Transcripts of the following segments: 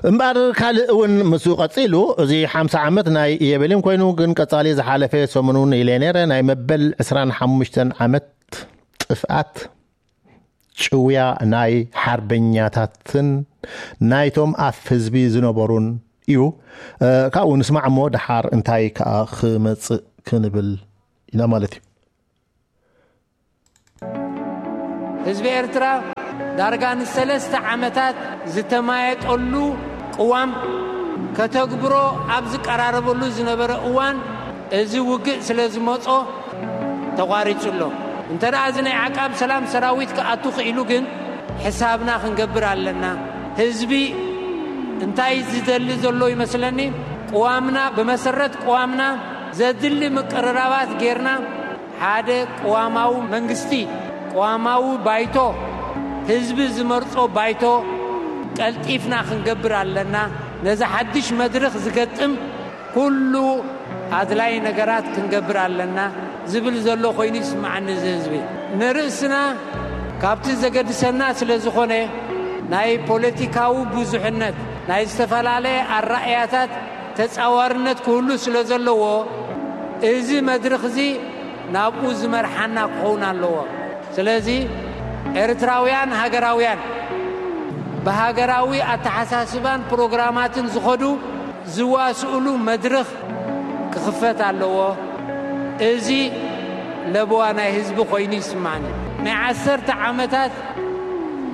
እምበኣር ካልእ እውን ምስኡ ቀጺሉ፣ እዚ ሓምሳ ዓመት ናይ የቤልን ኮይኑ፣ ግን ቀጻሊ ዝሓለፈ ሰሙን እውን ኢለ ነይረ፣ ናይ መበል ዕስራን ሓሙሽተን ዓመት ጥፍኣት፣ ጭውያ ናይ ሓርበኛታትን ናይቶም ኣፍ ህዝቢ ዝነበሩን እዩ። እ፣ ካብኡ ንስማዕ እሞ፣ ደሓር እንታይ ከኣ ክመጽእ ክንብል ኢና ማለት እዩ። ህዝቢ ኤርትራ ዳርጋ ንሰለስተ ዓመታት ዝተማየጠሉ ቅዋም ከተግብሮ ኣብ ዝቀራረበሉ ዝነበረ እዋን፣ እዚ ውግእ ስለ ዝመጾ ተቋሪጹ ኣሎ። እንተ ደኣ እዚ ናይ ዓቃብ ሰላም ሰራዊት ክኣቱ ክኢሉ ግን፣ ሕሳብና ክንገብር ኣለና። ህዝቢ እንታይ ዝደሊ ዘሎ ይመስለኒ፣ ቅዋምና፣ ብመሰረት ቅዋምና ዘድሊ ምቅርራባት ጌርና፣ ሓደ ቅዋማዊ መንግስቲ፣ ቅዋማዊ ባይቶ፣ ህዝቢ ዝመርጾ ባይቶ ቀልጢፍና ክንገብር ኣለና። ነዚ ሓድሽ መድርኽ ዝገጥም ኩሉ ኣድላይ ነገራት ክንገብር ኣለና ዝብል ዘሎ ኮይኑ ይስምዓኒ። እዚ ህዝቢ ንርእስና ካብቲ ዘገድሰና ስለ ዝኾነ፣ ናይ ፖለቲካዊ ብዙሕነት፣ ናይ ዝተፈላለየ ኣራእያታት ተጻዋርነት ክህሉ ስለ ዘለዎ፣ እዚ መድርኽ እዚ ናብኡ ዝመርሓና ክኸውን ኣለዎ። ስለዚ ኤርትራውያን ሃገራውያን ብሃገራዊ ኣተሓሳስባን ፕሮግራማትን ዝኸዱ ዝዋስእሉ መድርኽ ክኽፈት ኣለዎ። እዚ ለበዋ ናይ ህዝቢ ኮይኑ ይስማዕኒ። ናይ ዓሰርተ ዓመታት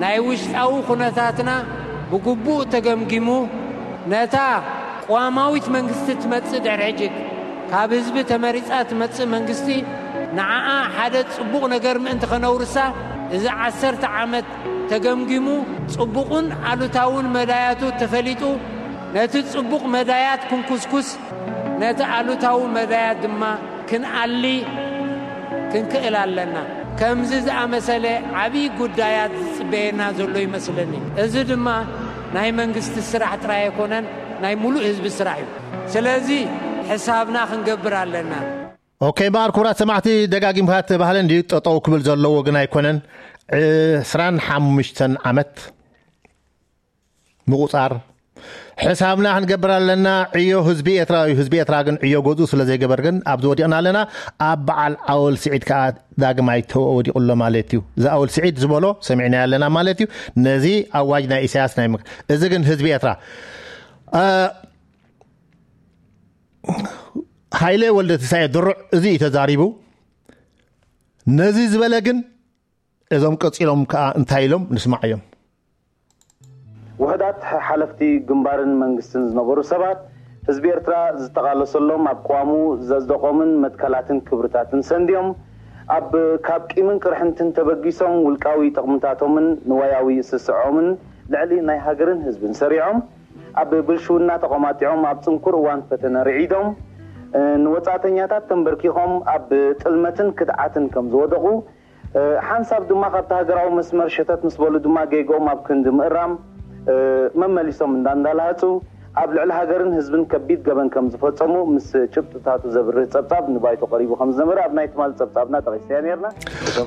ናይ ውሽጣዊ ኩነታትና ብግቡእ ተገምጊሙ፣ ነታ ቅዋማዊት መንግስቲ ትመጽእ ድሕሪ ሕጂ፣ ካብ ህዝቢ ተመሪጻ ትመጽእ መንግስቲ፣ ንዓኣ ሓደ ጽቡቕ ነገር ምእንቲ ከነውርሳ፣ እዚ ዓሰርተ ዓመት ተገምጊሙ፣ ጽቡቕን ኣሉታውን መዳያቱ ተፈሊጡ፣ ነቲ ጽቡቕ መዳያት ክንኩስኩስ፣ ነቲ ኣሉታዊ መዳያት ድማ ክንኣሊ ክንክእል ኣለና። ከምዚ ዝኣመሰለ ዓብዪ ጉዳያት ዝጽበየና ዘሎ ይመስለኒ። እዚ ድማ ናይ መንግስቲ ስራሕ ጥራይ ኣይኮነን፣ ናይ ሙሉእ ህዝቢ ስራሕ እዩ። ስለዚ ሕሳብና ክንገብር ኣለና። ኦኬ፣ እምበኣር ክቡራት ሰማዕቲ፣ ደጋጊምካ እቲ ባህሊ እንድዩ ጠጠው ክብል ዘለዎ ግን ኣይኮነን። ዕስራን ሓሙሽተን ዓመት ምቑጻር ሕሳብና ክንገብር ኣለና። ዕዮ ህዝቢ ኤርትራ እዩ። ህዝቢ ኤርትራ ግን ዕዮ ገዝኡ ስለ ዘይገበር ግን ኣብዚ ወዲቕና ኣለና። ኣብ በዓል ኣወል ስዒድ ከኣ ዳግማይ ተወዲቑ ኣሎ ማለት እዩ። እዚ ኣወል ስዒድ ዝበሎ ሰሚዕናዮ ኣለና ማለት እዩ። ነዚ ኣዋጅ ናይ ኢሳያስ ናይ ምክ-፣ እዚ ግን ህዝቢ ኤርትራ፣ እ፣ ሃይለ ወልደ ትንሳኤ ድሩዕ እዚ እዩ ተዛሪቡ። ነዚ ዝበለ ግን እዞም ቀጺሎም ከኣ እንታይ ኢሎም ንስማዓዮም። ውሕዳት ሓለፍቲ ግንባርን መንግስትን ዝነበሩ ሰባት፣ ህዝቢ ኤርትራ ዝተቓለሰሎም ኣብ ቅዋሙ ዘጽደቖምን መትከላትን ክብርታትን ሰንድዮም፣ ኣብ ካብ ቂምን ቅርሕንትን ተበጊሶም ውልቃዊ ጥቕምታቶምን ንዋያዊ ስስዖምን ልዕሊ ናይ ሃገርን ህዝብን ሰሪዖም፣ ኣብ ብልሽውና ተቖማጢዖም ኣብ ጽንኩር እዋን ፈተነ ርዒዶም፣ ንወጻእተኛታት ተንበርኪኾም ኣብ ጥልመትን ክድዓትን ከም ዝወደቑ፣ ሓንሳብ ድማ ካብቲ ሃገራዊ መስመር ሸተት ምስ በሉ ድማ ጌግኦም ኣብ ክንዲ ምእራም መመሊሶም እንዳ እንዳልሃጹ ኣብ ልዕሊ ሃገርን ህዝብን ከቢድ ገበን ከም ዝፈጸሙ ምስ ጭብጥታቱ ዘብርህ ጸብጻብ ንባይቶ ቀሪቡ ከም ዝነበረ ኣብ ናይ ትማሊ ጸብጻብና ጠቒስናዮ ነርና።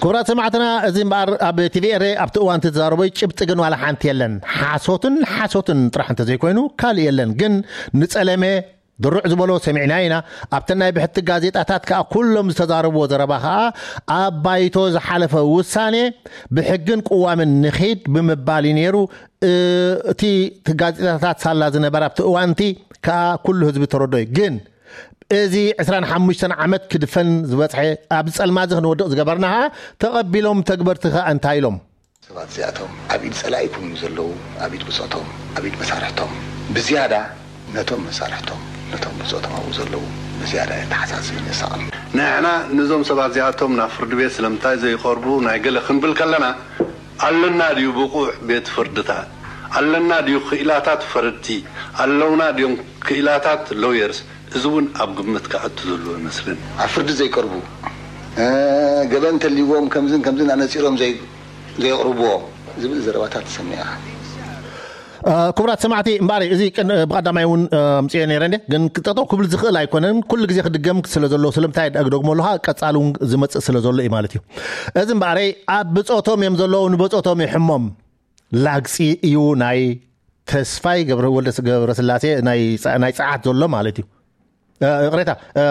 ክቡራት ሰማዕትና፣ እዚ እምበኣር ኣብ ቲቪ ኤረ ኣብቲ እዋን እቲ ተዛረቦ ጭብጢ ግን ዋላ ሓንቲ የለን። ሓሶትን ሓሶትን ጥራሕ እንተዘይኮይኑ ካልእ የለን። ግን ንጸለመ ድሩዕ ዝበሎ ሰሚዕና ኢና። ኣብተን ናይ ብሕቲ ጋዜጣታት ከኣ ኩሎም ዝተዛረብዎ ዘረባ ከኣ ኣብ ባይቶ ዝሓለፈ ውሳኔ ብሕግን ቅዋምን ንኺድ ብምባል እዩ ነይሩ። እ፣ እቲ ጋዜጣታት ሳላ ዝነበረ ኣብቲ እዋንቲ ከኣ ኩሉ ህዝቢ ተረዶ እዩ። ግን እዚ ዕስራን ሓሙሽተን ዓመት ክድፈን ዝበጽሐ ኣብዚ ጸልማዚ ክንወድቕ ዝገበርና ከኣ ተቐቢሎም ተግበርቲ ከኣ እንታይ ኢሎም? ሰባት እዚኣቶም ኣብ ኢድ ጸላኢ ይኩኑ ዘለዉ፣ ኣብ ኢድ ብጾቶም፣ ኣብ ኢድ መሳርሕቶም፣ ብዝያዳ ነቶም መሳርሕቶም፣ ነቶም ብጾቶም ኣብኡ ዘለዉ ብዝያዳ የተሓሳስብን የሳቕን። ንሕና ነዞም ሰባት እዚኣቶም ናብ ፍርዲ ቤት ስለምንታይ ዘይቐርቡ ናይ ገለ ክንብል ከለና፣ ኣለና ድዩ ብቑዕ ቤት ፍርድታት? ኣለና ድዩ ክኢላታት ፈረድቲ? ኣለውና ድዮም ክኢላታት ሎየርስ? እዚ እውን ኣብ ግምት ክኣቱ ዘለዎ ይመስለኒ። ኣብ ፍርዲ ዘይቀርቡ፣ እ፣ ገበን እንተልይዎም ከምዝን ከምዝን ኣነጺሮም ዘይ-፣ ዘየቕርብዎ ዝብል ዘረባታት ትሰምዕ ኢኻ። እ፣ ክቡራት ሰማዕቲ፣ እምበኣር እዚ ቅን-፣ ብቐዳማይ እውን፣ እ፣ ኣምጽኤ ነይረ እንደ፣ ግን ጠጠው ክብል ዝኽእል ኣይኮነን። ኩሉ ግዜ ክድገም ስለ ዘሎ፣ ስለምንታይ ደኣ ክደግሞ ኣለኻ? ቀጻሊ እውን ዝመጽእ ስለ ዘሎ እዩ ማለት እዩ። እዚ እምበኣረይ ኣብ ብጾቶም እዮም ዘለዉ፣ ንብጾቶም ይሕሞም። ላግጺ እዩ ናይ ተስፋይ ገብረ ወልደ ገብረስላሴ ናይ ጸ- ናይ ጸዓት ዘሎ ማለት እዩ። እ፣ ይቕሬታ፣ እ፣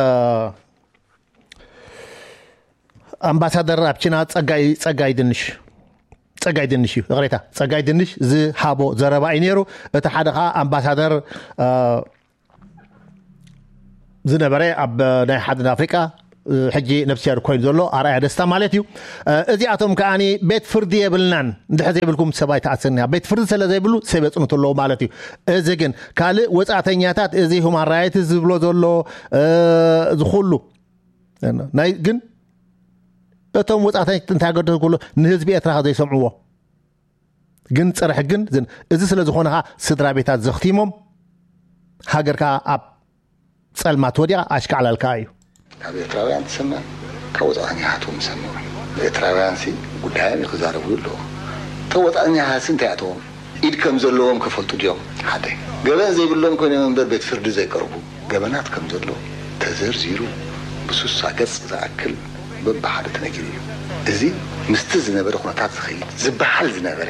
ኣምባሳደር ኣብ ቺና ጸጋይ ጸጋይ ድንሽ ጸጋይ ድንሽ እዩ። ይቕሬታ፣ ጸጋይ ድንሽ ዝሃቦ ዘረባ እዩ ነይሩ። እቲ ሓደ ከዓ ኣምባሳደር፣ እ፣ ዝነበረ ኣብ ናይ ሓድን ኣፍሪቃ፣ እ፣ ሕጂ ነፍስያር ኮይኑ ዘሎ ኣርኣያ ደስታ ማለት እዩ። እ፣ እዚኣቶም ከዓኒ ቤት ፍርዲ የብልናን እንድሕር ዘይብልኩም ሰብ ኣይተኣስርኒ። ቤት ፍርዲ ስለ ዘይብሉ ሰብ የጽንቱ ኣለዉ ማለት እዩ። እዚ ግን ካልእ ወጻእተኛታት እዚ ሁማን ራይትስ ዝብሎ ዘሎ፣ እ፣ ዝኹሉ ናይ ግን እቶም ወጻእተኛታት እንታይ ገደስ ኩሉ ንህዝቢ ኤርትራ ዘይሰምዕዎ ግን ጸረ ሕግን ዝን-፣ እዚ ስለ ዝኾነ ኸኣ ስድራ ቤታት ዘኽቲሞም ሃገር ከኣ ኣብ ጸልማት ወዲቓ ኣሽካዕላል ከኣ እዩ። ካብ ኤርትራውያን ትሰምዕ፣ ካብ ወጻእተኛታት እውን ትሰምዕ። ኤርትራውያን ሲ ጉዳዮም እዩ ክዛረቡ ኣለዎ። እቶም ወጻእተኛታት ሲ እንታይ ኣተዎም? ኢድ ከም ዘለዎም ክፈልጡ ድዮም? ሓደ ገበን ዘይብሎም ኮይኖም እምበር ቤት ፍርዲ ዘይቀርቡ ገበናት ከም ዘሎ ተዘርዚሩ ብሱሳ ገጽ ዝኣክል በብሓደ ተነጊሩ እዩ። እዚ ምስቲ ዝነበረ ኩነታት ዝኸይድ ዝበሃል ዝነበረ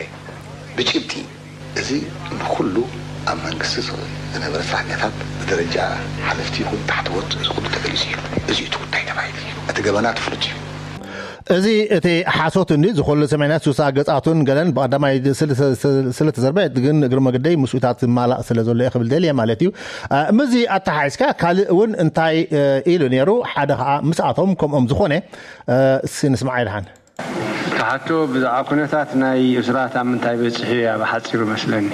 ብጭብጢ እዚ ንኹሉ ኣብ መንግስቲ ዝነበረ ሰራሕተኛታት ብደረጃ ሓለፍቲ ይኹን ታሕተዎት እዚ ኩሉ ተገሊጹ እዩ። እዚ እቲ ጉዳይ ተባሂሉ እዩ። እቲ ገበናት ፍሉጥ እዩ። እዚ እቲ ሓሶት እንዲ ዝኮሉ ሰማይና ሱሳ ገጻቱን ገለን ብቀዳማይ ስለ ተዘርበ ግን እግሪ መገደይ ምስኡታት ዝማላእ ስለ ዘሎ እየ ክብል ደልየ ማለት እዩ። እ፣ ምዚ ኣተሓሒዝካ ካልእ እውን እንታይ፣ እ፣ ኢሉ ነይሩ? ሓደ ከዓ ምስኣቶም ከምኦም ዝኾነ፣ እ፣ እስኪ ንስማዕ ይድሓን። ተሓቶ ብዛዕባ ኩነታት ናይ እስራት ኣብ ምንታይ በጺሑ እያ ብሓጺሩ መስለኒ።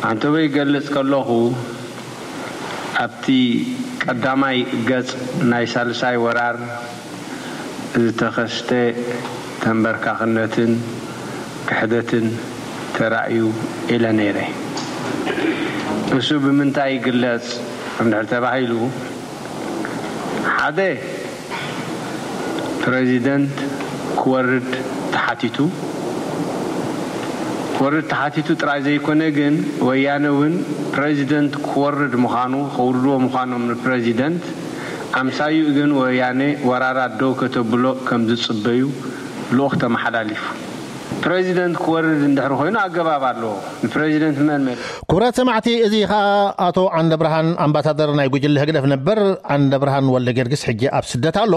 ኣንተበይ ይገልጽ ከለኹ ኣብቲ ቀዳማይ ገጽ ናይ ሳልሳይ ወራር ዝተኸስተ ተንበርካኽነትን ክሕደትን ተራእዩ ኢለ ነይረ። እሱ ብምንታይ ይግለጽ እንድሕር ተባሂሉ፣ ሓደ ፕሬዚደንት ክወርድ ተሓቲቱ። ክወርድ ተሓቲቱ ጥራይ ዘይኮነ ግን ወያነ እውን ፕሬዚደንት ክወርድ ምዃኑ፣ ከውርድዎ ምዃኖም ንፕሬዚደንት ኣምሳዩ ግን ወያነ ወራራት ደው ከተብሎ ከም ዝጽበዩ ልኡኽ ተመሓላሊፉ። ፕሬዚደንት ክወርድ እንድሕር ኮይኑ ኣገባብ ኣለዎ። ንፕሬዚደንት መን መን ክቡራት ሰማዕቲ፣ እዚ ኸኣ ኣቶ ዓንደ ብርሃን ኣምባሳደር ናይ ጉጅለ ህግደፍ ነበር። ዓንደ ብርሃን ወልደ ጊዮርጊስ ሕጂ ኣብ ስደት ኣሎ።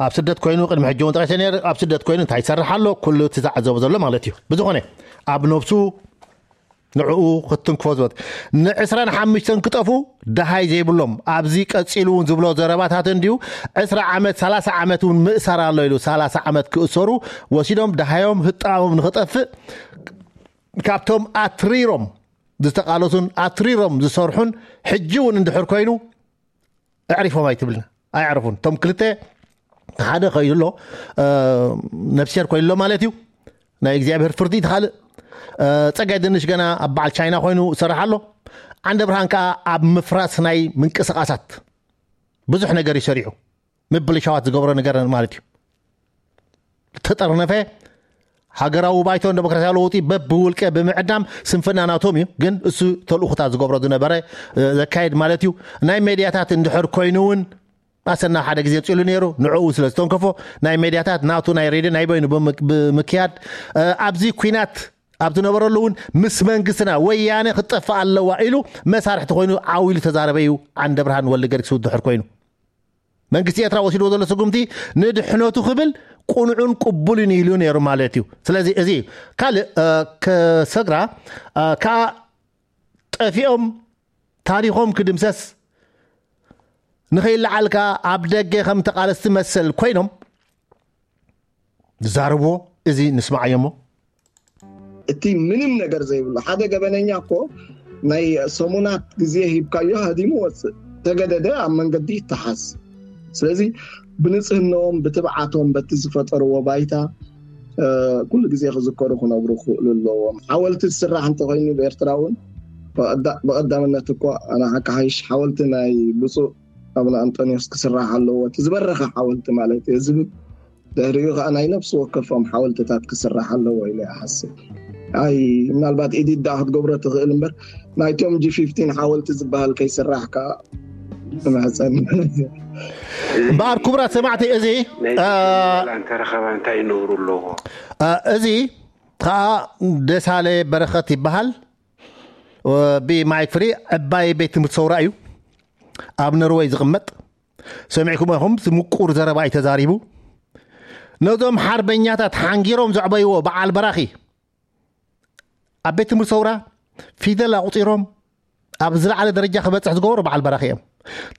ኣብ ስደት ኮይኑ ቅድሚ ሕጂ እውን ጠቂሰ ነይረ። ኣብ ስደት ኮይኑ እንታይ ይሰርሕ ኣሎ? ኩሉ እቲ ዝዓዘቦ ዘሎ ማለት እዩ። ብዝኾነ ኣብ ነብሱ ንዕኡ ክትንክፎ ዝበል ንዕስራን ሓሙሽተን ክጠፉ ደሃይ ዘይብሎም ኣብዚ ቀጺሉ እውን ዝብሎ ዘረባታት እንድዩ። ዕስራ ዓመት ሰላሳ ዓመት እውን ምእሰር ኣሎ ኢሉ ሰላሳ ዓመት ክእሰሩ ወሲዶም ደሃዮም ህጣዎም ንኽጠፍእ ካብቶም ኣትሪሮም ዝተቃለሱን ኣትሪሮም ዝሰርሑን ሕጂ እውን እንድሕር ኮይኑ ኣዕሪፎም ኣይትብልና። ኣይዕርፉን። እቶም ክልተ ሓደ ከይዱ ኣሎ፣ እ፣ ነፍስሄር ኮይኑ ኣሎ ማለት እዩ። ናይ እግዚኣብሔር ፍርዲ እቲ ካልእ፣ እ፣ ጸጋይ ድንሽ ገና ኣብ በዓል ቻይና ኮይኑ ይሰርሕ ኣሎ። ዓንደ ብርሃን ከኣ ኣብ ምፍራስ ናይ ምንቅስቃሳት ብዙሕ ነገር እዩ ሰሪሑ። ምብልሻዋት ዝገብሮ ነገር ማለት እዩ። ዝተጠርነፈ ሃገራዊ ባይቶ ንደሞክራሲያዊ ለውጢ በብውልቀ ብምዕዳም ስንፍና ናቶም እዩ። ግን እሱ ተልእኹታት ዝገብሮ ዝነበረ፣ እ፣ ዘካየድ ማለት እዩ። ናይ ሜድያታት እንድሕር ኮይኑ እውን ኣሰና ሓደ ግዜ ጽሉ ነይሩ። ንዕኡ ስለ ዝተንከፎ ናይ ሜድያታት ናቱ ናይ ሬድዮ ናይ በይኑ ብምክ-፣ ብምክያድ፣ እ፣ ኣብዚ ኲናት ኣብ ዝነበረሉ እውን ምስ መንግስትና ወያነ ክትጠፍእ ኣለዋ ኢሉ መሳርሕቲ ኮይኑ ዓው ኢሉ ተዛረበ እዩ። ዓንደ ብርሃን ወልደ ጊዮርጊስ ድሕር ኮይኑ መንግስቲ ኤርትራ ወሲድዎ ዘሎ ስጉምቲ ንድሕነቱ ክብል ቁኑዑን ቅቡልን ኢሉ ነይሩ ማለት እዩ። ስለዚ እዚ እዩ። ካልእ፣ እ፣ ከሰግራ፣ እ፣ ከኣ ጠፊኦም ታሪኾም ክድምሰስ ንኸይለዓልካ ኣብ ደገ ከም ተቓለስቲ መሰል ኮይኖም ዝዛረብዎ እዚ ንስማዓዮ እሞ። እቲ ምንም ነገር ዘይብሉ ሓደ ገበነኛ እኮ ናይ ሰሙናት ግዜ ሂብካዮ ሃዲሙ ወፅእ፣ ተገደደ ኣብ መንገዲ ይተሓዝ። ስለዚ ብንፅህንኦም ብትብዓቶም በቲ ዝፈጠርዎ ባይታ፣ እ፣ ኩሉ ግዜ ክዝከሩ ክነብሩ ክኽእሉ ኣለዎም። ሓወልቲ ዝስራሕ እንተኮይኑ ብኤርትራ እውን ብቐዳ-፣ ብቐዳምነት እኮ ኣነ ሓቂ ሓይሽ ሓወልቲ ናይ ብፁዕ ኣቡነ ኣንጠንዮስ ክስራሕ ኣለዎ፣ እቲ ዝበረኸ ሓወልቲ ማለት እየ ዝብል። ድሕሪኡ ከዓ ናይ ነፍሲ ወከፎም ሓወልትታት ክስራሕ ኣለዎ ኢለ ይሓስብ። ኣይ ምናልባት ኢዲት ደኣ ክትገብሮ ትኽእል እምበር ናይቶም ጂ ፊፍቲን ሓወልቲ ዝበሃል ከይስራሕ ከዓ እምሕፀን። እምበኣር ክቡራት ሰማዕቲ፣ እዚ፣ ናይ አ፣ ዋላ እንተረኸባ እንታይ ይነብሩ ኣለዎ? አ፣ እዚ ከዓ ደሳለ በረኸት ይበሃል። ብማይክ ፍሪ ዕባይ ቤት ትምህርቲ ሰውራ እዩ ኣብ ነርወይ ዝቕመጥ። ሰሚዕኩም ኢኹም፣ ምቁር ዘረባ እዩ ተዛሪቡ። ነዞም ሓርበኛታት ሓንጊሮም ዘዕበይዎ በዓል በራኺ ኣብ ቤት ትምህርቲ ሰውራ ፊደል ኣቑፂሮም ኣብ ዝለዓለ ደረጃ ክበፅሕ ዝገበሩ በዓል በራኺ እዮም።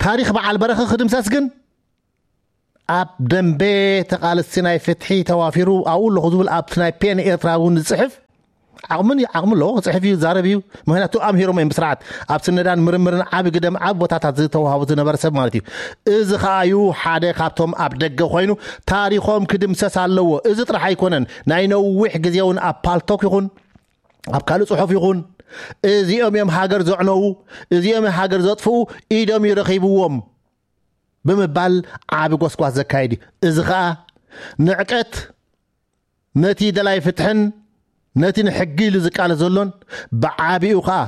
ታሪኽ በዓል በራኺ ክድምሰስ ግን ኣብ ደንበ ተቓለስቲ ናይ ፍትሒ ተዋፊሩ ኣብኡ ኣለኹ ዝብል ኣብቲ ናይ ፔን ኤርትራ እውን ዝፅሕፍ ዓቕምን ዓቕሚ ኣለዎ፣ ክፅሕፍ እዩ፣ ዝዛረብ እዩ። ምክንያቱ ኣምሂሮም እዮም ብስርዓት ኣብ ስነዳን ምርምርን ዓቢ ግደም ዓቢ ቦታታት ዝተዋህቡ ዝነበረ ሰብ ማለት እዩ። እዚ ከዓ እዩ ሓደ ካብቶም ኣብ ደገ ኮይኑ ታሪኾም ክድምሰስ ኣለዎ። እዚ ጥራሕ ኣይኮነን፣ ናይ ነዊሕ ግዜ እውን ኣብ ፓልቶክ ይኹን ኣብ ካልእ ጽሑፍ ይኹን እዚኦም እዮም ሃገር ዘዕነዉ፣ እዚኦም እዮም ሃገር ዘጥፍኡ፣ ኢዶም ይረኺብዎም ብምባል ዓቢ ጎስጓስ ዘካየድ እዩ። እዚ ኸኣ ንዕቀት ነቲ ደላይ ፍትሕን ነቲ ንሕጊ ኢሉ ዝቃለስ ዘሎን ብዓቢኡ ኸኣ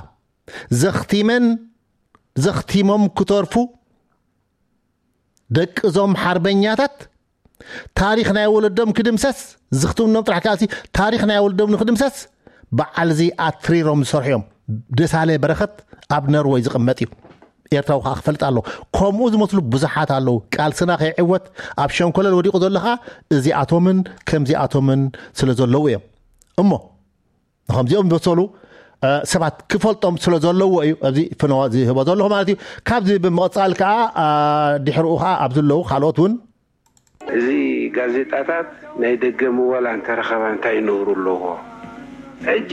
ዘኽቲመን ዘኽቲሞም ክተርፉ ደቂ እዞም ሓርበኛታት ታሪኽ ናይ ወለዶም ክድምሰስ፣ ዝኽትምኖም ጥራሕ ካልሲ ታሪኽ ናይ ወለዶም ንክድምሰስ በዓል እዚ ኣትሪሮም ዝሰርሑ እዮም። ደሳለ በረኸት ኣብ ነርወይ ዝቕመጥ እዩ። ኤርትራዊ ከዓ ክፈልጥ ኣለዎ። ከምኡ ዝመስሉ ብዙሓት ኣለዉ። ቃልስና ከይዕወት ኣብ ሸንኮለል ወዲቑ ዘሎ ከዓ እዚኣቶምን ከምዚኣቶምን ስለ ዘለዉ እዮም። እሞ ንኸምዚኦም ዝበሰሉ ሰባት ክፈልጦም ስለ ዘለዎ እዩ ኣብዚ ፍነዋ ዝህቦ ዘለኹ ማለት እዩ። ካብዚ ብምቕፃል ከዓ ድሕርኡ ከዓ ኣብ ዘለዉ ካልኦት እውን እዚ ጋዜጣታት ናይ ደገ ምወላ እንተረኸባ እንታይ ነውሩ ኣለዎ? ሕጂ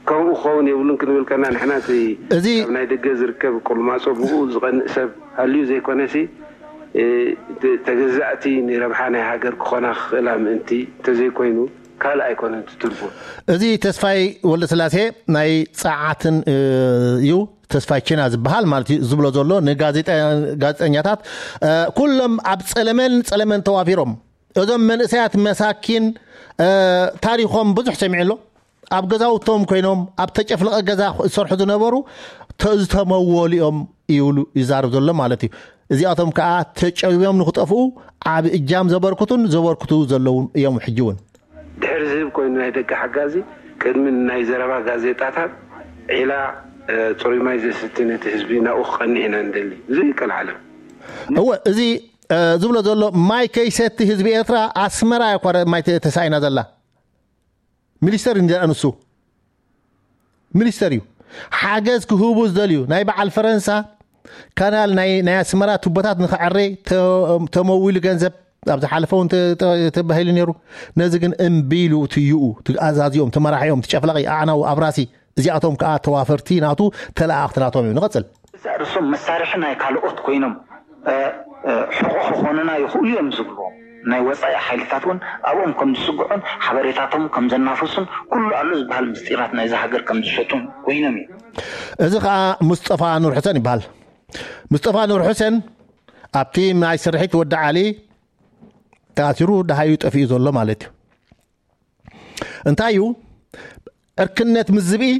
ከምኡ ክኸውን የብሉን ክንብል ከና ንሕና እቲ እዚ ካብ ናይ ደገ ዝርከብ ቁልማጾ ብኡ ዝቐንእ ሰብ ሃልዩ ዘይኮነሲ ተገዛእቲ ንረብሓ ናይ ሃገር ክኾና ክኽእላ ምእንቲ እንተዘይኮይኑ ካልእ ኣይኮነን እቲ ትርጉም። እዚ ተስፋይ ወልደስላሴ ናይ ጸዓትን እዩ። ተስፋይ ቺና ዝበሃል ማለት እዩ ዝብሎ ዘሎ ንጋዜጠኛታት ኩሎም ኣብ ጸለመን ጸለመን ተዋፊሮም እዞም መንእሰያት መሳኪን ታሪኾም ብዙሕ ሰሚዑ ኣሎ። ኣብ ገዛውቶም ኮይኖም ኣብ ተጨፍለቐ ገዛ ዝሰርሑ ዝነበሩ ዝተመወሉ እዮም ይብሉ ይዛረብ ዘሎ ማለት እዩ። እዚኣቶም ከዓ ተጨውዮም ንክጠፍኡ ዓብ እጃም ዘበርክቱን ዘበርክቱ ዘለውን እዮም። ሕጂ እውን ድሕሪ ዝህብ ኮይኑ ናይ ደቂ ሓጋዚ ቅድሚ ናይ ዘረባ ጋዜጣታት ዒላ ፅሩይ ማይ ዘስቲ ነቲ ህዝቢ ናብኡ ክቐንዕ ኢና ንደሊ። እዚ ይቀልዓለም እወ እዚ ዝብሎ ዘሎ ማይ ከይሰቲ ህዝቢ ኤርትራ ኣስመራ እኳ ማይ ተሳኢና ዘላ። ሚኒስተር እንዲ ኣንሱ ሚኒስተር እዩ። ሓገዝ ክህቡ ዝደልዩ ናይ በዓል ፈረንሳ ካናል ናይ ኣስመራ ቱቦታት ንክዕረይ ተመዊሉ ገንዘብ ኣብ ዝሓለፈ እውን ተባሂሉ ነይሩ። ነዚ ግን እምቢ ኢሉ ትይኡ ትኣዛዚኦም ትመራሒኦም ትጨፍላቂ ኣዕናዊ ኣብራሲ እዚኣቶም ከዓ ተዋፈርቲ ናቱ ተለኣኣኽቲ ናቶም እዮም። ንቐፅል። እዛ ርእሶም መሳርሒ ናይ ካልኦት ኮይኖም ሕቆ ክኾኑና ይኽእሉ እዮም ዝብልዎም ናይ ወፃኢ ሓይልታት እውን ኣብኦም ከም ዝስግዑን ሓበሬታቶም ከም ዘናፈሱን ኩሉ ኣሎ ዝበሃል ምስጢራት ናይዛ ሃገር ከም ዝሸጡን ኮይኖም እዮም። እዚ ከዓ ሙስጠፋ ኑር ሕሰን ይበሃል። ሙስጠፋ ኑር ሕሰን ኣብቲ ናይ ስርሒት ወዲ ዓሊ ተኣሲሩ ደሃዩ ጠፊኡ ዘሎ ማለት እዩ። እንታይ እዩ ዕርክነት ምስ ዝብኢ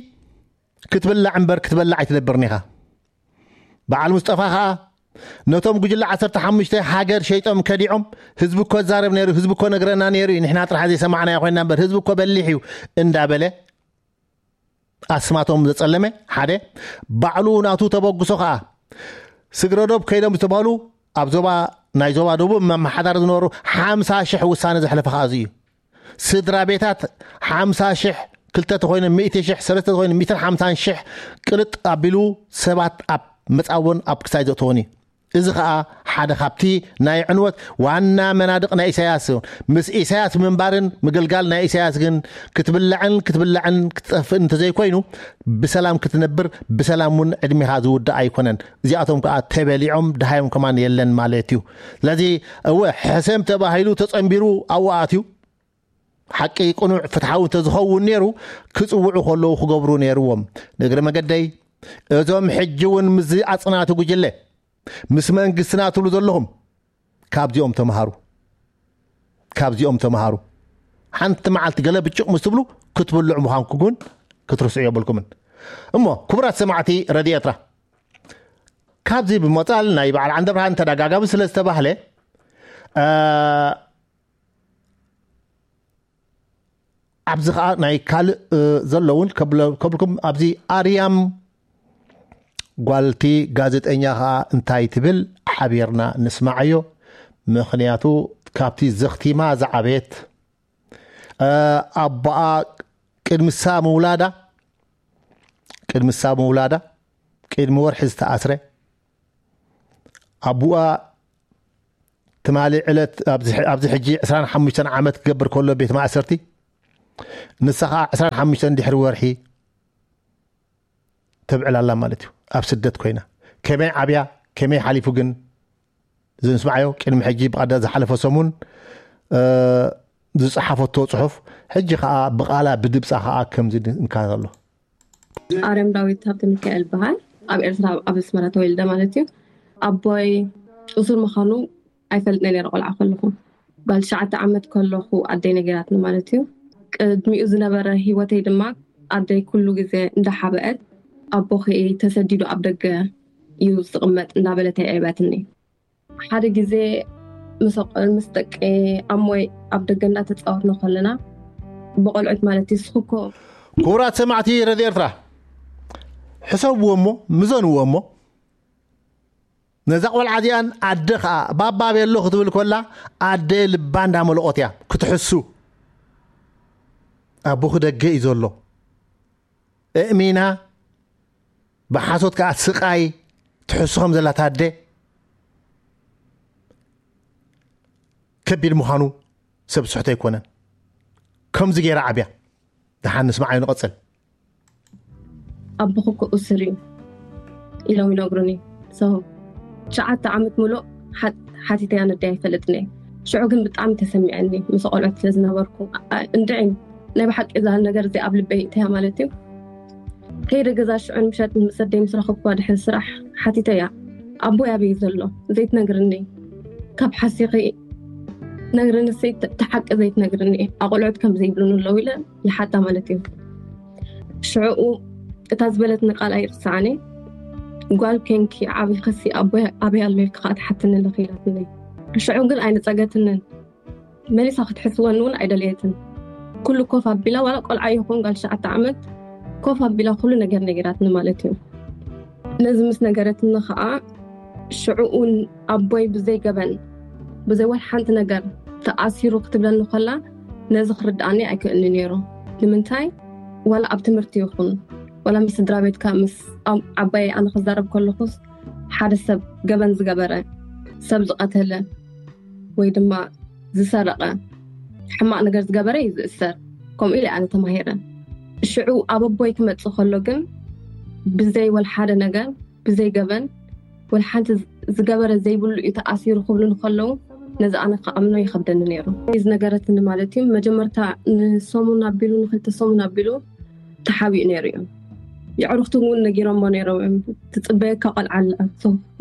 ክትብላዕ እምበር ክትበላዕ ኣይትነብርን ኢኻ። በዓል ሙስጠፋ ኸዓ ነቶም ጉጅለ ዓሰርተ ሓሙሽተ ሃገር ሸይጦም ከዲዖም ህዝቢ እኮ ዛረብ ነይሩ ህዝቢ እኮ ነግረና ነይሩ እዩ ንሕና ጥራሕ ዘይሰማዕናዮ ኮይና እምበር ህዝቢ እኮ በሊሕ እዩ እንዳበለ ኣስማቶም ዘጸለመ ሓደ ባዕሉ ናቱ ተበግሶ ኸዓ ስግረዶብ ከይዶም ዝተባህሉ ኣብ ዞባ ናይ ዞባ ደቡብ መመሓዳሪ ዝነበሩ ሓምሳ ሽሕ ውሳነ ዘሕለፈ ኸዓ እዚ እዩ። ስድራ ቤታት ሓምሳ ሽሕ ክልተ ተኮይኖም ሚእቲ ሽሕ ሰለስተ ተኮይኖም ሚእትን ሓምሳን ሽሕ ቅልጥ ኣቢሉ ሰባት ኣብ መጻወን ኣብ ክሳይ ዘእተወን እዩ። እዚ ከዓ ሓደ ካብቲ ናይ ዕንወት ዋና መናድቕ ናይ ኢሳያስ እዩ። ምስ ኢሳያስ ምንባርን ምግልጋል ናይ ኢሳያስ ግን ክትብላዕን ክትብላዕን ክትጠፍእን እንተዘይኮይኑ ብሰላም ክትነብር ብሰላም እውን ዕድሜኻ ዝውዳእ ኣይኮነን። እዚኣቶም ከዓ ተበሊዖም ድሃዮም ከማን የለን ማለት እዩ። ስለዚ እወ ሕሰም ተባሂሉ ተጸንቢሩ ኣብኡ ኣትዩ ሓቂ ቅኑዕ ፍትሓዊ እንተዝኸውን ነይሩ ክፅውዑ ከለዉ ክገብሩ ነይርዎም። ንእግሪ መገደይ እዞም ሕጂ እውን ምስዚ ኣፅናቲ ጉጅለ ምስ መንግስትና ትብሉ ዘለኹም ካብዚኦም ተምሃሩ። ካብዚኦም ተምሃሩ። ሓንቲ መዓልቲ ገለ ብጭቕ ምስ ትብሉ ክትብልዑ ምዃንኩ ግን ክትርስዑ የብልኩምን። እሞ ክቡራት ሰማዕቲ ረድዮ ኤርትራ ካብዚ ብምቕፃል ናይ በዓል ዓንደብርሃን ተደጋጋሚ ስለ ዝተባህለ ኣብዚ ከዓ ናይ ካልእ ዘለውን ከብልኩም ኣብዚ ኣርያም ጓልቲ ጋዜጠኛ ከዓ እንታይ ትብል ሓቢርና ንስማዓዮ። ምክንያቱ ካብቲ ዘኽቲማ ዝዓበየት ኣቦኣ ቅድምሳ ምውላዳ ቅድምሳ ምውላዳ ቅድሚ ወርሒ ዝተኣስረ ኣቦኣ ትማሊ ዕለት ኣብዚ ሕጂ ዕስራን ሓሙሽተን ዓመት ክገብር ከሎ ቤት ማእሰርቲ ንሳ ከዓ ዕስራን ሓሙሽተን ድሕሪ ወርሒ ተብዕላላ ማለት እዩ። ኣብ ስደት ኮይና ከመይ ዓብያ ከመይ ሓሊፉ ግን ዝንስማዓዮ ቅድሚ ሕጂ ብቐዳ ዝሓለፈ ሰሙን ዝፀሓፈቶ ፅሑፍ ሕጂ ከዓ ብቓላ ብድብፃ ከዓ ከምዚ እንካተሎ። ኣርያም ዳዊት ሃብተ ሚካኤል በሃል። ኣብ ኤርትራ ኣብ ኣስመራ ተወልደ ማለት እዩ። ኣቦይ እሱር ምዃኑ ኣይፈልጥን ነይረ ቆልዓ ከለኹ። ጓል ትሽዓተ ዓመት ከለኹ ኣደይ ነጊራትኒ ማለት እዩ። ቅድሚኡ ዝነበረ ህይወተይ ድማ ኣደይ ኩሉ ግዜ እንዳሓበአት ኣቦኺ ተሰዲዱ ኣብ ደገ እዩ ዝቕመጥ እንዳበለት የዕበትኒ። ሓደ ግዜ ምስ ደቂ ኣሞይ ኣብ ደገ እንዳተፃወትና ከለና ብቆልዑት ማለት እዩ ስኽኮ ክቡራት ሰማዕቲ ረድዮ ኤርትራ ሕሰብዎ እሞ ምዘንዎ እሞ ነዛ ቆልዓ እዚኣን ኣደ ከዓ ባባ ቤሎ ክትብል ኮላ ኣደ ልባ እንዳመለቆት እያ ክትሕሱ ኣቦኺ ደገ እዩ ዘሎ እእሚና ብሓሶት ከዓ ስቃይ ትሕሱ ከም ዘላታ ኣደ ከቢድ ምዃኑ ሰብ ስሕቶ ኣይኮነን። ከምዚ ገይራ ዓብያ ደሓን ንስማዓዮ ንቐፅል። ኣቦኺ እኮ እሱር እዩ ኢሎም ይነግሩኒ። ትሽዓተ ዓመት ሙሉእ ሓቲተያ ነደይ ኣይፈልጥን እየ። ሽዑ ግን ብጣዕሚ ተሰሚዐኒ ምስ ቆልዑት ስለ ዝነበርኩ እንድዒ ናይ ብሓቂ እዛ ነገር እዚ ኣብ ልበይ እተያ ማለት እዩ። ከይደ ገዛ ሽዑ ንምሸት ምስ ኣደይ ምስ ረኸብኩዋ ድሕሪ ስራሕ ሓቲተያ ኣቦይ ኣበይ ዘሎ ዘይትነግርኒ ካብ ሓሲኺ ነግርኒ ሰይ ተሓቂ ዘይትነግርኒ ኣቆልዑት ከም ዘይብሉን ኣለዉ ኢለ ይሓታ ማለት እዩ። ሽዕኡ እታ ዝበለትኒ ቃል ኣይርስዓኒ። ጓል ኮንኪ ዓብኺሲ ኣቦይ ኣበይ ኣሎ ኢልኪ ከዓ ትሓትኒ ኣለኺ ኢላትኒ። ሽዑ ግን ኣይነፀገትንን። መሊሳ ክትሕስወኒ እውን ኣይደለየትን። ኩሉ ኮፍ ኣቢላ ዋላ ቆልዓ ይኹን ጓል ትሽዓተ ዓመት ኮፍ ኣቢላ ኩሉ ነገር ነጊራትኒ ማለት እዩ። ነዚ ምስ ነገረትኒ ከዓ ሽዕኡ ኣቦይ ብዘይ ገበን ብዘይ ወላ ሓንቲ ነገር ተኣሲሩ ክትብለኒ ከላ ነዚ ክርድኣኒ ኣይክእልኒ ነይሩ። ንምንታይ ዋላ ኣብ ትምህርቲ ይኹን ዋላ ምስ ስድራ ቤትካ ምስ ዓባይ ኣነ ክዛረብ ከለኹስ ሓደ ሰብ ገበን ዝገበረ ሰብ ዝቐተለ ወይ ድማ ዝሰረቐ ሕማቕ ነገር ዝገበረ እዩ ዝእሰር። ከምኡ ኢለ ኣነ ተማሂረ። ሽዑ ኣብ ኣቦይ ክመፅእ ከሎ ግን ብዘይ ወላ ሓደ ነገር ብዘይ ገበን ወላ ሓንቲ ዝገበረ ዘይብሉ እዩ ተኣሲሩ ክብሉ ንከለዉ ነዚ ኣነ ክኣምኖ ይኸብደኒ ነይሩ። ዝነገረትኒ ማለት እዩ መጀመርታ ንሰሙን ኣቢሉ ንክልተ ሰሙን ኣቢሉ ተሓቢኡ ነይሩ እዩ። የዕሩኽቱ እውን ነጊሮሞ ነይሮም እዮም ትፅበየካ ቆልዓ ኣላ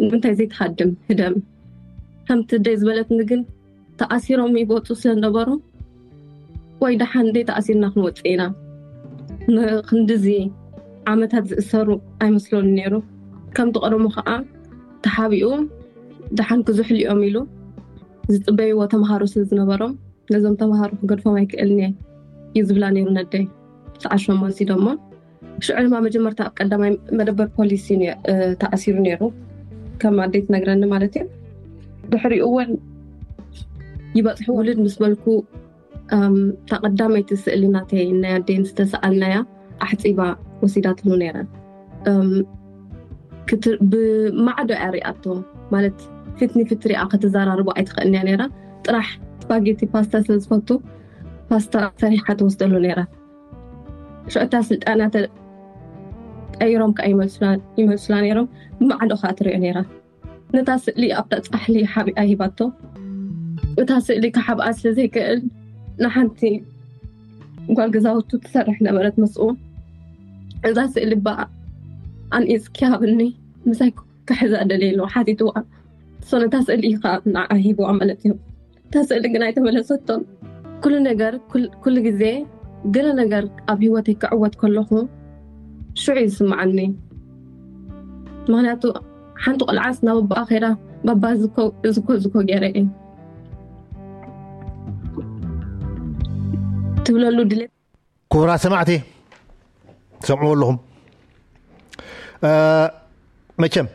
ንምንታይ ዘይትሃድም ህደም ከምቲ ደይ ዝበለትኒ ግን ተኣሲሮም ይወፁ ስለዝነበሩ ወይ ደሓን ደይ ተኣሲርና ክንወፅእ ኢና ንክንድዚ ዓመታት ዝእሰሩ ኣይመስሎን ነይሩ። ከምቲ ቀደሙ ከዓ ተሓቢኡ ደሓን ክዝሕሉ እዮም ኢሉ ዝፅበይዎ ተምሃሮ ስለ ዝነበሮም ነዞም ተምሃሮ ክገድፎም ኣይክእልን እየ እዩ ዝብላ ነይሩ ነደይ። ሰዓት ሸሞንተ ደሞ ሽዑ ድማ መጀመርታ ኣብ ቀዳማይ መደበር ፖሊስ እዩ ተኣሲሩ ነይሩ ከም ኣደይ ትነግረኒ ማለት እዩ። ድሕሪኡ እውን ይበፅሑ ውልድ ምስ በልኩ እታ ቀዳመይቲ ስእሊ ናተይ ናይ ኣደይ ዝተሰኣልናያ ኣሕፂባ ወሲዳትሉ ነይራ። ብማዕዶ እያ ሪኣቶ ማለት ፊት ንፊት ሪኣ ከተዘራርቦ ኣይትኽእልን እያ ነይራ። ጥራሕ ስፓጌቲ ፓስታ ስለ ዝፈቱ ፓስታ ሰሪሓ ትወስደሉ ነይራ። ሽዑ እታ ስልጣና ተቀይሮም ከዓ ይመልሱላ ነይሮም። ብማዕዶ ከዓ ትሪኦ ነይራ። ነታ ስእሊ ኣብታ ፃሕሊ ሓቢኣ ሂባቶ። እታ ስእሊ ክሓብኣ ስለ ዘይክእል ንሓንቲ ጓል ገዛውቱ ትሰርሕ ነበረት ምስኡ። እዛ ስእሊ ባ ኣንኢፅኪ ሃብኒ ምሳይ ክሕዛ ደልየ ኢሉ ሓቲትዋ። እሶ ነታ ስእሊ ከዓ ንዓኣ ሂብዋ ማለት እዩ። እታ ስእሊ ግን ኣይተመለሰቶን። ኩሉ ነገር ኩሉ ግዜ ገለ ነገር ኣብ ህይወተይ ክዕወት ከለኹ ሽዑ ይስምዓኒ። ምክንያቱ ሓንቲ ቆልዓስ ናብ ኣቦኣ ከይዳ ባባ ዝኮ ዝኮ ዝኮ ገይረ እየ ትብለሉ ድሌት ክቡራት ሰማዕቲ፣ ትሰምዕዎ ኣለኹም። መቸም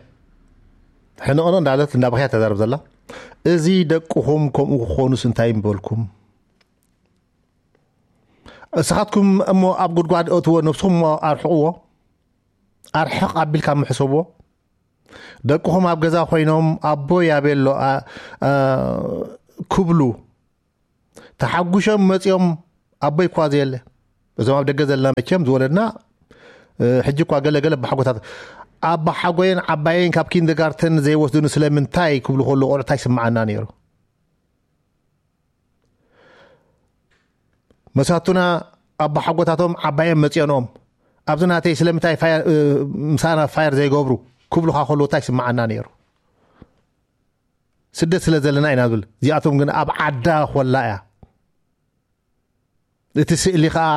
ሕንቕንቕ እንዳለት እንዳበኽያ ተዛረብ ዘላ፣ እዚ ደቅኹም ከምኡ ክኾኑስ እንታይ ምበልኩም? እስኻትኩም እሞ ኣብ ጉድጓድ እትዎ ነብስኹም እሞ ኣርሕቕዎ። ኣርሕቕ ኣቢልካ ምሕሰብዎ። ደቅኹም ኣብ ገዛ ኮይኖም ኣቦይ ኣበሎ ክብሉ ተሓጉሾም መፂኦም፣ ኣቦይ እኳ ዘየለ። እዞም ኣብ ደገ ዘለና መቸም ዝወለድና ሕጂ እኳ ገለ ገለ ኣባሓጎታት፣ ኣባሓጎየን ዓባየን ካብ ኪንደርጋርተን ዘይወስዱኒ ስለምንታይ ክብሉ ከሎ ቆልዑ እንታይ ይስምዓና ነይሩ? መሳቱና ኣባሓጎታቶም ዓባየን መፂኦንኦም ኣብዚ ናተይ ስለምንታይ ምሳና ፋየር ዘይገብሩ ክብሉካ ከሎ እንታይ ይስምዓና ነይሩ? ስደት ስለ ዘለና ኢና ዝብል። እዚኣቶም ግን ኣብ ዓዳ ኮላ እያ። እቲ ስእሊ ከዓ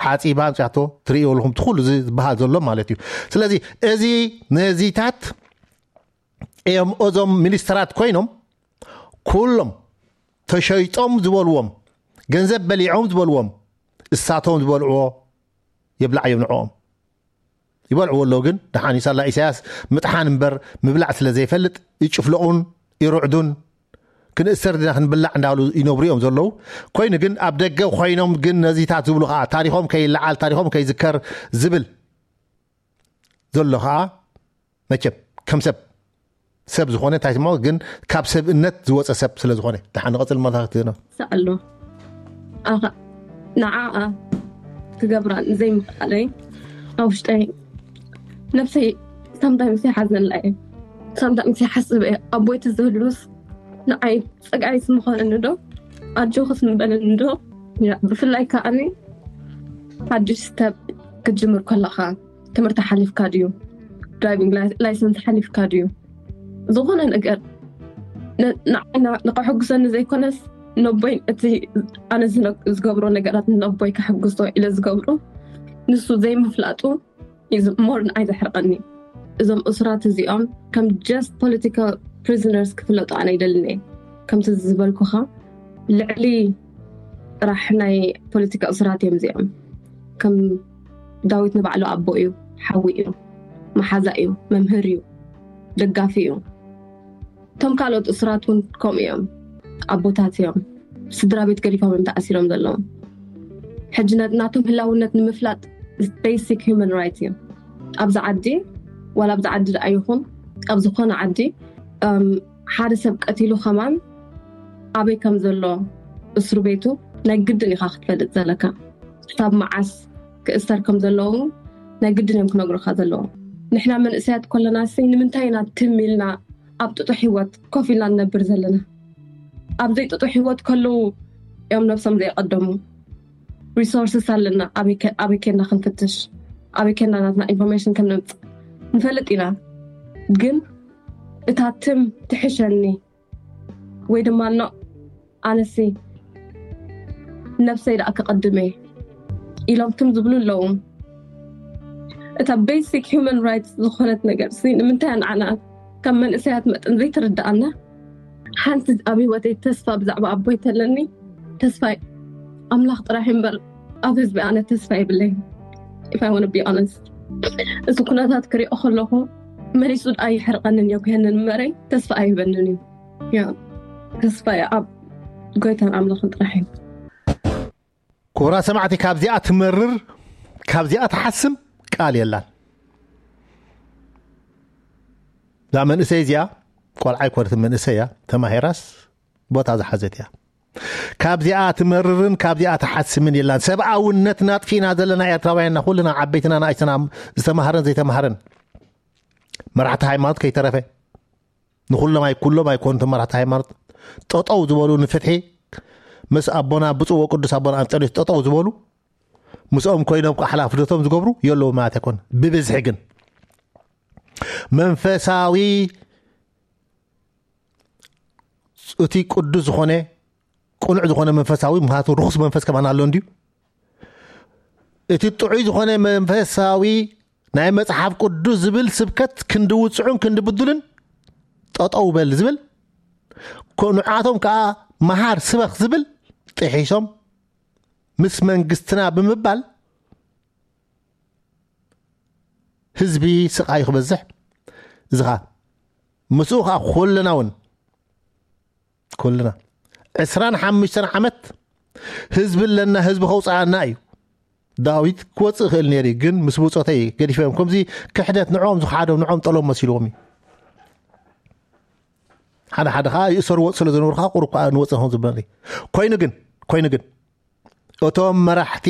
ሓፂባ ኣምፅያቶ ትርእዩ ኣለኹም። እቲ ኩሉ ዝበሃል ዘሎ ማለት እዩ። ስለዚ እዚ ነዚታት እዮም እዞም ሚኒስተራት ኮይኖም ኩሎም ተሸይጦም ዝበልዎም፣ ገንዘብ በሊዖም ዝበልዎም፣ እሳቶም ዝበልዕዎ የብላዕ እዮም ንዕኦም። ይበልዕዎ ኣለዉ። ግን ደሓን እዩ ሳላ ኢሳያስ ምጥሓን እምበር ምብላዕ ስለ ዘይፈልጥ ይጭፍለቑን ይርዕዱን፣ ክንእሰር ዲና ክንብላዕ እንዳበሉ ይነብሩ እዮም ዘለዉ። ኮይኑ ግን ኣብ ደገ ኮይኖም ግን ነዚታት ዝብሉ ከዓ ታሪኾም ከይለዓል ታሪኾም ከይዝከር ዝብል ዘሎ ከዓ መቸም ከም ሰብ ሰብ ዝኾነ እንታይ ስሞ ግን ካብ ሰብእነት ዝወፀ ሰብ ስለ ዝኾነ። ደሓን ንቐፅል መታክቲ ነው። ኣሎ ኣኻ ንዓኣ ክገብራ ዘይምኽኣለይ ኣብ ውሽጠይ ነብሰይ ሳምታይምስ ይሓዘላ እየ። ሳምታይምስ ይሓስብ እየ። ኣቦይ ትዝህሉስ ንዓይ ፀግዓይስ ምኾነኒ ዶ? ኣጆኽስ ምበለኒ ዶ? ብፍላይ ከዓኒ ሓድሽ ስተፕ ክትጅምር ከለኻ ትምህርቲ ሓሊፍካ ድዩ? ድራይቪንግ ላይሰንስ ሓሊፍካ ድዩ? ዝኾነ ነገር ንዓይ ንኸሕጉሰኒ ዘይኮነስ ነቦይ እቲ ኣነ ዝገብሮ ነገራት ነቦይ ከሕጉሶ ኢለ ዝገብሮ ንሱ ዘይምፍላጡ ሞር ንዓይ ዘሕርቐኒ። እዞም እሱራት እዚኦም ከም just political prisoners ክፍለጡ ኣነ ይደልን እየ። ከምቲ ዝበልኩኻ ልዕሊ ጥራሕ ናይ ፖለቲካ እሱራት እዮም እዚኦም። ከም ዳዊት ንባዕሉ ኣቦ እዩ፣ ሓዊ እዩ፣ መሓዛ እዩ፣ መምህር እዩ፣ ደጋፊ እዩ። እቶም ካልኦት እሱራት እውን ከምኡ እዮም። ኣቦታት እዮም። ስድራ ቤት ገዲፎም እዮም ተኣሲሮም ዘለዉ። ሕጂ ናቶም ህላውነት ንምፍላጥ basic human right እዩ። ኣብዚ ዓዲ ዋላ ኣብዚ ዓዲ ደኣ ይኹን ኣብ ዝኾነ ዓዲ ሓደ ሰብ ቀቲሉ ከማን ኣበይ ከም ዘሎ እስሩ ቤቱ ናይ ግድን ኢኻ ክትፈልጥ ዘለካ። ክሳብ መዓስ ክእሰር ከም ዘለዉ ናይ ግድን እዮም ክነግሩካ ዘለዎም። ንሕና መንእሰያት ኮለና ሲ ንምንታይ ኢና ትም ኢልና ኣብ ጥጡሕ ህይወት ኮፍ ኢልና ንነብር ዘለና? ኣብ ዘይጥጡሕ ህይወት ከለዉ እዮም ነብሶም ዘየቀደሙ። ሪሶርስስ ኣለና። ኣበይ ኬድና ክንፍትሽ፣ ኣበይ ኬድና ናትና ኢንፎርሜሽን ከም ነምፅእ ንፈልጥ ኢና። ግን እታ ትም ትሕሸኒ ወይ ድማ ኖ ኣነሲ ነብሰይ ደኣ ክቐድም እየ ኢሎም ትም ዝብሉ ኣለዉ። እታ ቤሲክ ሂውማን ራይትስ ዝኾነት ነገር ሲ ንምንታይ ንዓና ከም መንእሰያት መጠን ዘይትርድኣና? ሓንቲ ኣብ ህይወተይ ተስፋ ብዛዕባ ኣቦይ ተለኒ ተስፋ ኣምላኽ ጥራሕ እምበር ኣብ ህዝቢ ኣነ ተስፋ የብለይ። If I want to be honest፣ እዚ ኩነታት ክሪኦ ከለኹ መሊሱ ደኣ ይሕርቐንን የጉህንን እምበረይ ተስፋ ኣይህበንን እዩ። ያ ተስፋ ኣብ ጎይታን ኣምላኽን ጥራሕ እዩ። ክቡራት ሰማዕቲ፣ ካብዚኣ ትመርር ካብዚኣ ትሓስም ቃል የላን። እዛ መንእሰይ እዚኣ ቆልዓ ኣይኮነትን፣ መንእሰይ እያ። ተማሂራስ ቦታ ዝሓዘት እያ። ካብዚኣ ትመርርን ካብዚኣ ትሓስምን የላን። ሰብኣውነትና ኣጥፊእና ዘለና ኤርትራውያንና ኩልና ዓበይትና ንኣሽትና ዝተማህረን ዘይተማህረን መራሕቲ ሃይማኖት ከይተረፈ ንኩሎም ኣይ ኩሎም ኣይኮኑትን መራሕቲ ሃይማኖት ጠጠው ዝበሉ ንፍትሒ ምስ ኣቦና ብፁዕ ወቅዱስ ኣቦና ኣንጠንዮስ ጠጠው ዝበሉ ምስኦም ኮይኖም ከዓ ሓላፍነቶም ዝገብሩ የለዉ ማለት ኣይኮን። ብብዝሒ ግን መንፈሳዊ እቲ ቅዱስ ዝኾነ ቅኑዕ ዝኾነ መንፈሳዊ ምክንያቱ ርኹስ መንፈስ ከማን ኣሎ እንድዩ። እቲ ጥዑይ ዝኾነ መንፈሳዊ ናይ መጽሓፍ ቅዱስ ዝብል ስብከት ክንዲ ውፅዑን ክንዲ ብዱልን ጠጠው በል ዝብል ንዓቶም ከዓ መሃር ስበኽ ዝብል ጥሒሶም ምስ መንግስትና ብምባል ህዝቢ ስቓዩ ክበዝሕ፣ እዚ ኸኣ ምስኡ ኸኣ ኩልና እውን፣ ኩልና ዕስራን ሓሙሽተን ዓመት ህዝቢ ኣለና፣ ህዝቢ ከውፅኣና እዩ። ዳዊት ክወፅእ ይኽእል ነይሩ እዩ፣ ግን ምስ ብፆተይ ገዲፈም። ከምዚ ክሕደት ንዕኦም ዝኸሓዶም፣ ንዕኦም ጠሎም መሲልዎም እዩ። ሓደ ሓደ ኸዓ ይእሰርዎ ስለ ዝነበሩ ኸዓ ቁሩብ ከዓ ንወፅእ ኾን ዝበል። ኮይኑ ግን፣ ኮይኑ ግን እቶም መራሕቲ